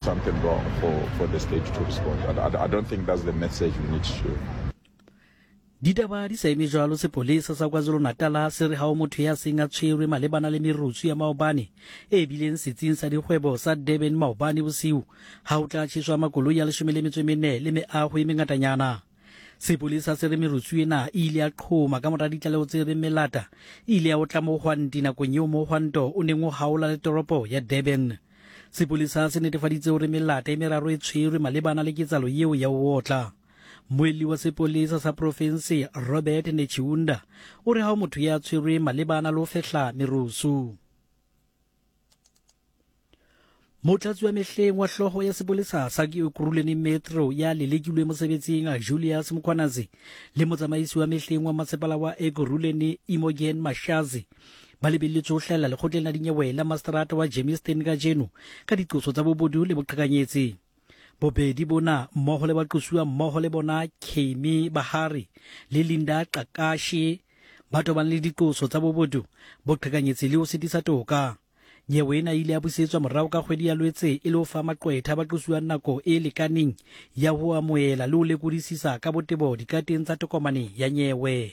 Something wrong for, for the state to respond. I, I, I don't think that's the message we need to. Ditaba di sa eme jwalo, sepolesa sa KwaZulu-Natal se re ha ho motho ya seng a tshwerwe malebana le merusu ya maobane e bileng setsing sa dikgwebo sa Durban maobane bosiu ha ho tla tjheswa makoloi a 14 le meaho e mengatanyana. Sepolesa se re merusu ena e ile ya qhoma ka mora ditlaleho tse reng melata e ile ya otla mohwanti nakong eo mohwanto o neng o haola le toropo ya Durban. Sepolesa se netefaditse hore melata e meraro e tshwerwe malebana le ketsahalo eo ya ho otla. Mmuelli wa sepolesa sa profense Robert Netshiunda o re ha ho motho ya tshwerweng malebana le ho fehla merusu. Motlatsi wa mehleng wa hloho ya sepolesa sa Ekurhuleni Metro ya lelekilwe mosebetsing Julius Mkhwanazi le motsamaisi wa mehleng wa masepala wa Ekurhuleni Imogen Mashazi ba lebelletswe ho hlahella lekgotleng la dinyewe la maseterata wa Germiston kajeno ka diqoso tsa bobodu le boqhekanyetsi. Bobedi bona mmoho le baqosuwa mmoho le bona Kemi Bahari le Linda Qakashe ba tobane le diqoso tsa bobodu, boqhekanyetsi le ho sitisa toka. Nyewe ena e ile ya busetswa morao ka kgwedi ya Lwetse e le ho fa maqwetha a baqosuwang nako e lekaneng ya ho amohela le ho lekodisisa ka botebo dikateng tsa tokomane ya nyewe.